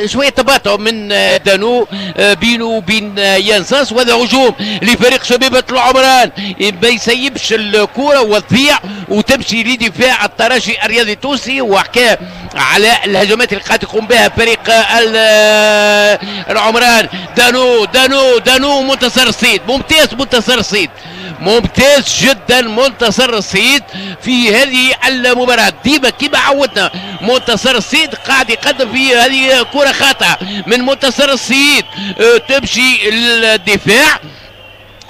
شوية تباطؤ من دانو بينه وبين يانساس، وهذا هجوم لفريق شبيبة العمران، ما يسيبش الكره وتضيع وتمشي لدفاع الترجي الرياضي التونسي. وحكى على الهجمات اللي قاعد يقوم بها فريق العمران. دانو دانو دانو منتصر الصيد، ممتاز منتصر الصيد، ممتاز جدا منتصر الصيد في هذه المباراة. ديما كما عودنا منتصر الصيد قاعد يقدم في هذه كرة خاطئة من منتصر الصيد تمشي للدفاع،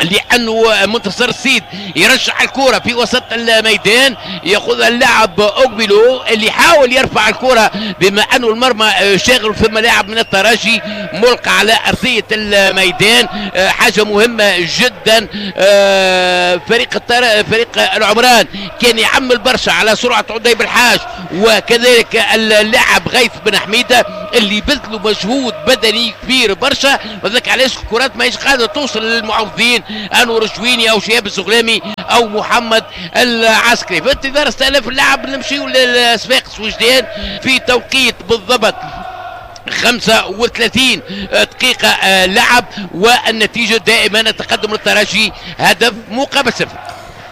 لانه منتصر السيد يرجع الكره في وسط الميدان، ياخذ اللاعب اوغبيلو اللي حاول يرفع الكره بما انه المرمى شاغل، ثم لاعب من الترجي ملقى على ارضية الميدان. حاجة مهمة جدا، فريق التر... فريق العمران كان يعمل برشا على سرعة عدي بالحاج وكذلك اللاعب غيث بن حميده اللي بذلوا مجهود بدني كبير برشا، وذلك علاش الكرات ماهيش قادرة توصل للمعوضين انور الجويني او شهاب الزغلامي او محمد العسكري. في انتظار استئناف اللعب نمشيو للصفاقس وجدان في توقيت بالضبط خمسة وثلاثين دقيقة لعب، والنتيجة دائما التقدم للترجي هدف مقابل صفر.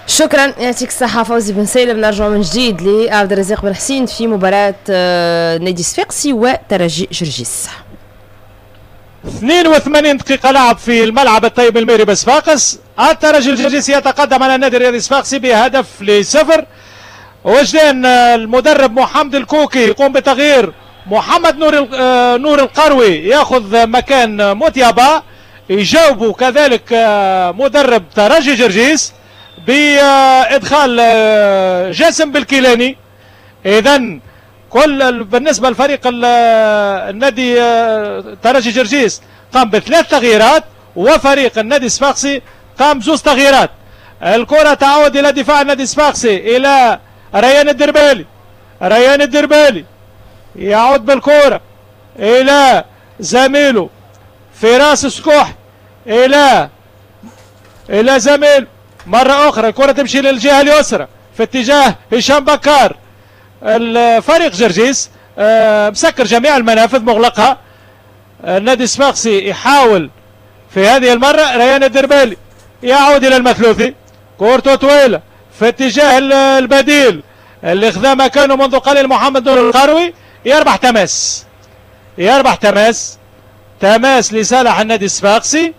شكرا، يعطيك الصحة فوزي بن سالم. نرجع من جديد لعبد الرزاق بن حسين في مباراة نادي صفاقسي وترجي جرجيس. اثنين وثمانين دقيقة لعب في الملعب الطيب الميري بصفاقس، الترجي الجرجيسي يتقدم على النادي الرياضي الصفاقسي بهدف لصفر. وجدان المدرب محمد الكوكي يقوم بتغيير محمد نور نور القروي ياخذ مكان موتيابا، يجاوبوا كذلك مدرب ترجي جرجيس بادخال جاسم بالكيلاني. اذا كل بالنسبة لفريق النادي ترجي جرجيس قام بثلاث تغييرات، وفريق النادي الصفاقسي قام بزوز تغييرات. الكره تعود الى دفاع النادي الصفاقسي الى ريان الدربالي، ريان الدربالي يعود بالكرة الى زميله فراس سكوح، الى الى زميله مرة اخرى. الكره تمشي للجهة اليسرى في اتجاه هشام بكار. الفريق جرجيس مسكر جميع المنافذ مغلقها. النادي الصفاقسي يحاول في هذه المرة، ريان الدربالي يعود الى المثلوثي، كورته طويلة في اتجاه البديل اللي خذا مكانه منذ قليل محمد نور القروي، يربح تماس، يربح تماس، تماس لصالح النادي الصفاقسي.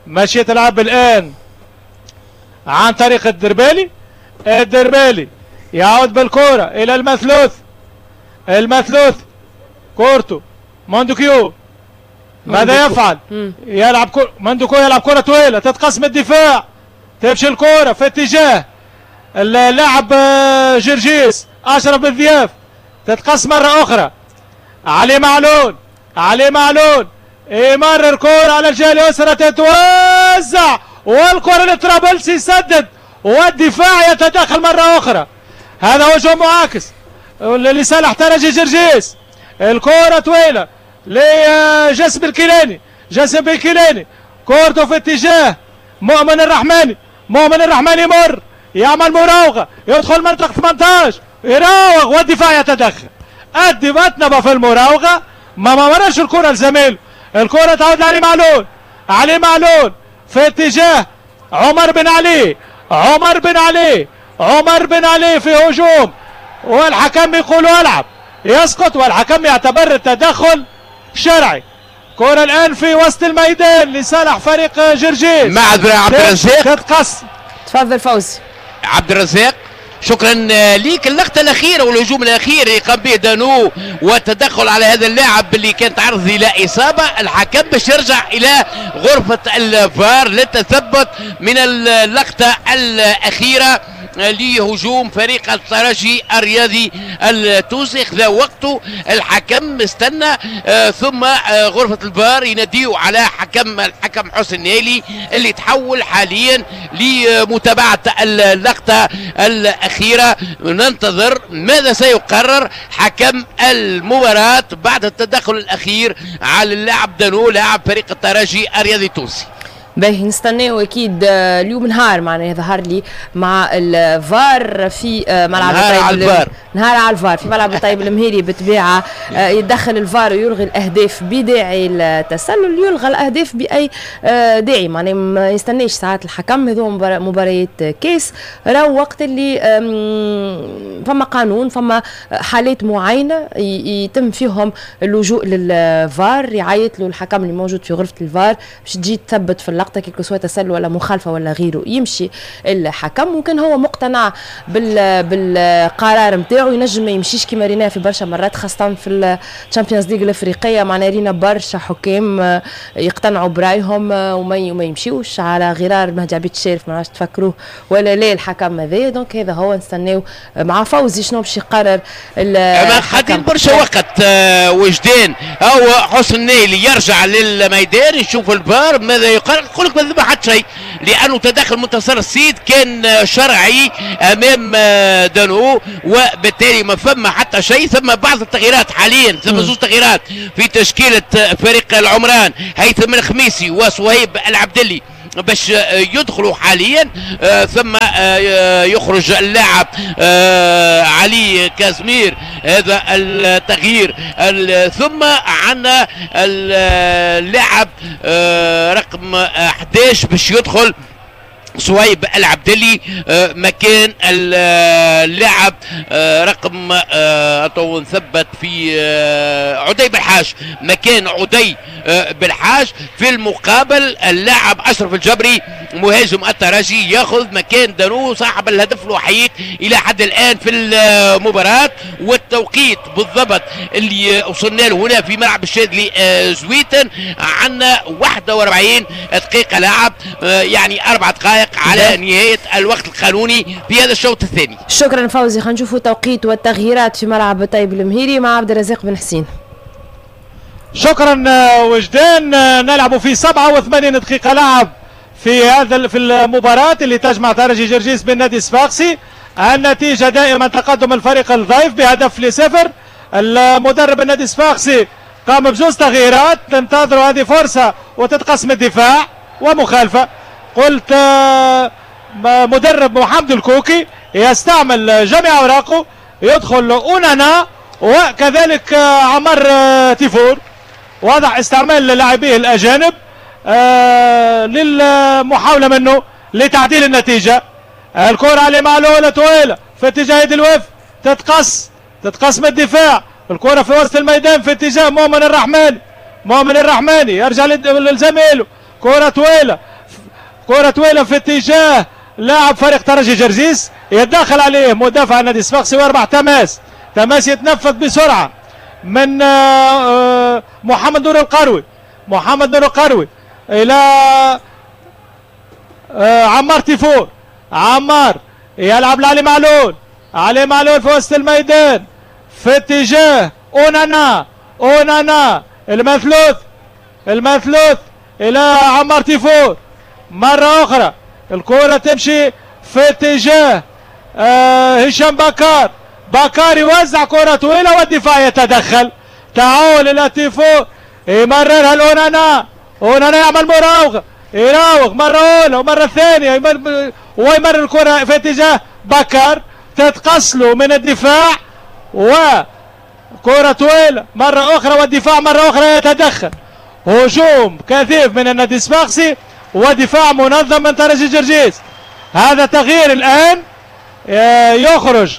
ماشية تلعب الآن عن طريق الدربالي، الدربالي يعود بالكرة إلى المثلوث، المثلوث كورته ماندوكيو، ماذا يفعل؟ يلعب كور... ماندوكيو يلعب كرة طويلة تتقسم الدفاع، تمشي الكرة في اتجاه اللاعب جرجيس أشرف بالضياف، تتقص مرة أخرى. علي معلول، علي معلول يمرر كرة على الجهة اليسرى تتوزع، والكرة لطرابلسي يسدد والدفاع يتدخل مرة أخرى. هذا هجوم معاكس لصالح ترجي جرجيس. الكرة طويلة لجاسم الكيلاني، جاسم الكيلاني كورته في اتجاه مؤمن الرحماني، مؤمن الرحماني يمر يعمل مراوغة يدخل منطقة ثمانية عشر يراوغ والدفاع يتدخل. الدفاع في المراوغة ما مرش الكرة لزميله. الكرة تعود لعلي معلول، علي معلول في اتجاه عمر بن علي، عمر بن علي، عمر بن علي في هجوم والحكم يقول العب، يسقط والحكم يعتبر التدخل شرعي. كرة الآن في وسط الميدان لصالح فريق جرجيس. معذرة عبد الرزاق تتقص. تفضل فوزي. عبد الرزاق شكرا ليك. اللقطة الأخيرة والهجوم الأخير اللي قام به دانو والتدخل على هذا اللاعب اللي كان تعرض إلى إصابة، الحكم باش يرجع إلى غرفة الفار للتثبت من اللقطة الأخيرة لهجوم فريق الترجي الرياضي التونسي. خذا وقته الحكم، استنى آه ثم آه غرفة الفار يناديوا على حكم الحكم حسن نايلي اللي تحول حاليا لمتابعة اللقطة الأخيرة. ننتظر ماذا سيقرر حكم المباراة بعد التدخل الأخير على اللاعب دانو لاعب فريق الترجي الرياضي التونسي. باهي نستناو اكيد اليوم نهار معناها ظهر لي مع الفار في ملعب نهار الطيب على الفار، نهار على الفار في ملعب الطيب المهيري بالطبيعة. يتدخل الفار ويلغي الاهداف بداعي التسلل، يلغى الاهداف باي داعي، معناها ما يستناش ساعات الحكم. هذو مباريات كاس راهو وقت اللي فما قانون، فما حالات معينة يتم فيهم اللجوء للفار، يعيط له الحكم اللي موجود في غرفة الفار باش تجي تثبت في اللقطة que ce soit تسلل ولا مخالفة ولا غيره، يمشي الحكم. وكان هو مقتنع بال بالقرار نتاعو ينجم ما يمشيش كما رينا في برشا مرات، خاصة في ال Champions League الافريقية، معناها رينا برشا حكام يقتنعوا برايهم وما وما يمشيوش على غرار مهدي عبيد الشارف، ما عادش تفكروه ولا لا الحكم هذا. donc هذا هو، نستناو مع فوزي شنو باش يقرر الحكم. خاطر برشا وقت وجدان هو حسن نايلي يرجع للميدان يشوف الفار ماذا يقرر. يقول لك ما ذبح حتى شيء لانه تدخل منتصر السيد كان شرعي امام دانو، وبالتالي ما فما حتى شيء. ثم بعض التغييرات حاليا، ثم زوج تغييرات في تشكيله فريق العمران، هيثم الخميسي وصهيب العبدلي باش يدخلوا حاليا. آه ثم آه يخرج اللاعب آه علي كازمير، هذا التغيير. ثم عندنا اللاعب آه رقم أحد عشر باش يدخل صهيب العبدلي مكان اللاعب رقم اتو نثبت في عدي بالحاج، مكان عدي بالحاج. في المقابل اللاعب اشرف الجبري مهاجم الترجي ياخذ مكان دانو صاحب الهدف الوحيد الى حد الان في المباراة. والتوقيت بالضبط اللي وصلنا له هنا في ملعب الشاذلي زويتن عندنا واحد وأربعين دقيقة لعب، يعني اربع دقائق على نهاية الوقت القانوني في هذا الشوط الثاني. شكرا فوزي. خلينا نشوفوا توقيت والتغييرات في ملعب طيب المهيري مع عبد الرزاق بن حسين. شكرا وجدان. نلعب في سبعة وثمانين دقيقة لعب في هذا في المباراة اللي تجمع ترجي جرجيس بالنادي الصفاقسي. النتيجة دائما تقدم الفريق الضيف بهدف لصفر. المدرب النادي الصفاقسي قام بزوج تغييرات، تنتظر هذه فرصة وتتقسم الدفاع ومخالفة. قلت مدرب محمد الكوكي يستعمل جميع اوراقه، يدخل اونانا وكذلك عمر تيفور. واضح استعمال لاعبيه الاجانب للمحاوله منه لتعديل النتيجة. الكره على معلولة طويلة في اتجاه يد الوف، تتقص تتقص من الدفاع. الكره في وسط الميدان في اتجاه مؤمن الرحماني، مؤمن الرحماني يرجع لزميله. كره طويلة كرة طويلة في اتجاه لاعب فريق ترجي جرجيس، يتدخل عليه مدافع النادي الصفاقسي ويربح تماس. تماس يتنفذ بسرعة من محمد نور القروي، محمد نور القروي إلى عمار تيفور. عمار يلعب لعلي معلول، علي معلول في وسط الميدان في اتجاه أونانا. اونانا المثلوث، المثلوث الى عمار تيفور مرة اخرى، الكره تمشي في اتجاه آه هشام بكار، بكار يوزع كره طويلة والدفاع يتدخل، تعود الى تيفور يمررها لاونانا، اونانا يعمل مراوغه، يراوغ مرة اولى ومرة ثانية ويمرر الكره في اتجاه بكار، تتقصله من الدفاع وكرة طويلة مرة أخرى والدفاع مرة أخرى يتدخل. هجوم كثيف من النادي الصفاقسي ودفاع منظم من ترجي جرجيس. هذا تغيير الآن، يخرج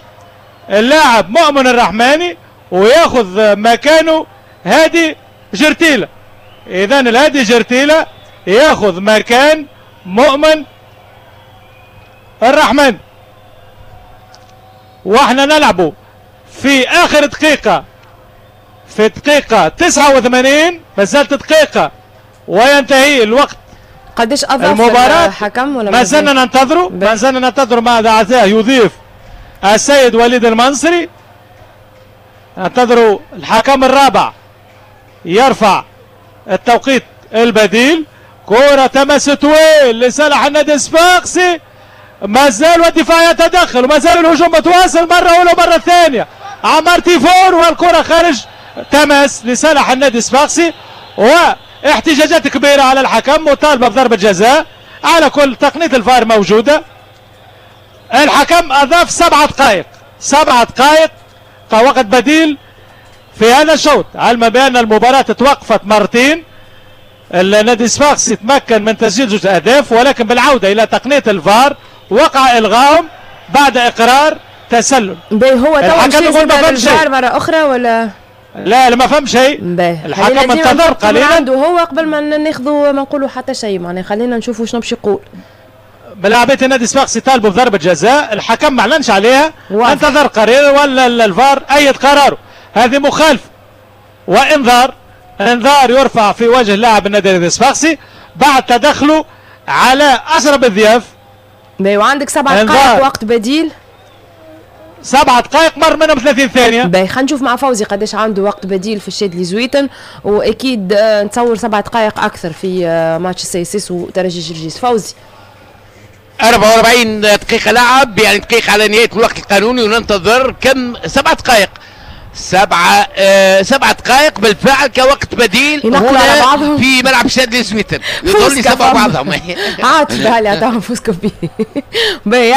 اللاعب مؤمن الرحماني ويأخذ مكانه هادي جرتيلة. إذن الهادي جرتيلة يأخذ مكان مؤمن الرحمن. واحنا نلعبوا في اخر دقيقة، في دقيقة تسعة وثمانين، ما زالت دقيقة وينتهي الوقت. قداش اضاف المباراة الحكم ولا ما زلنا ننتظروا؟ ما زلنا ننتظروا ماذا عزاه يضيف السيد وليد المنصري. ننتظروا الحكم الرابع يرفع التوقيت البديل. كرة تمس طويل لصالح النادي الصفاقسي، ما زال والدفاع يتدخل وما زال الهجوم متواصل مرة أولى ومرة ثانية. عمار تيفور والكرة خارج تمس لصالح النادي الصفاقسي، واحتجاجات كبيرة على الحكم مطالبة بضربة جزاء. على كل تقنية الفار موجودة. الحكم أضاف سبعة دقائق، سبعة دقائق كوقت بديل في هذا الشوط، علما بأن المباراة توقفت مرتين. النادي الصفاقسي تمكن من تسجيل زوج أهداف، ولكن بالعودة إلى تقنية الفار وقع إلغاهم بعد إقرار تسلل. باهي هو تو مشى الفار مرة أخرى ولا؟ لا لا ما فهم شيء. الحكم انتظر قليلا عنده هو قبل ما ناخذوا ما نقولوا حتى شيء، معناها خلينا نشوفوا شنو باش يقول. ملاعبية النادي الصفاقسي طالبوا بضربة جزاء، الحكم ما اعلنش عليها، انتظر قليلا ولا الفار أيد قراره. هذه مخالفة وإنذار، انذار يرفع في وجه لاعب النادي الصفاقسي بعد تدخله على أشرف الضياف. باهي وعندك سبع دقائق وقت بديل. سبع دقائق مر منهم ثلاثين ثانية. باهي خلينا نشوف مع فوزي قداش عنده وقت بديل في الشادلي زويتن، واكيد نتصور سبع دقائق اكثر في ماتش ال CSS وترجي جرجيس. فوزي أربعة وأربعين دقيقة لعب، يعني دقيقة على نهاية الوقت القانوني، وننتظر كم؟ سبع دقائق، سبعة آه سبع دقائق بالفعل كوقت بديل هنا في ملعب شادلي زويتن. يظل سبعة بعضهم. عاطف بالي عطاهم فوز كبير.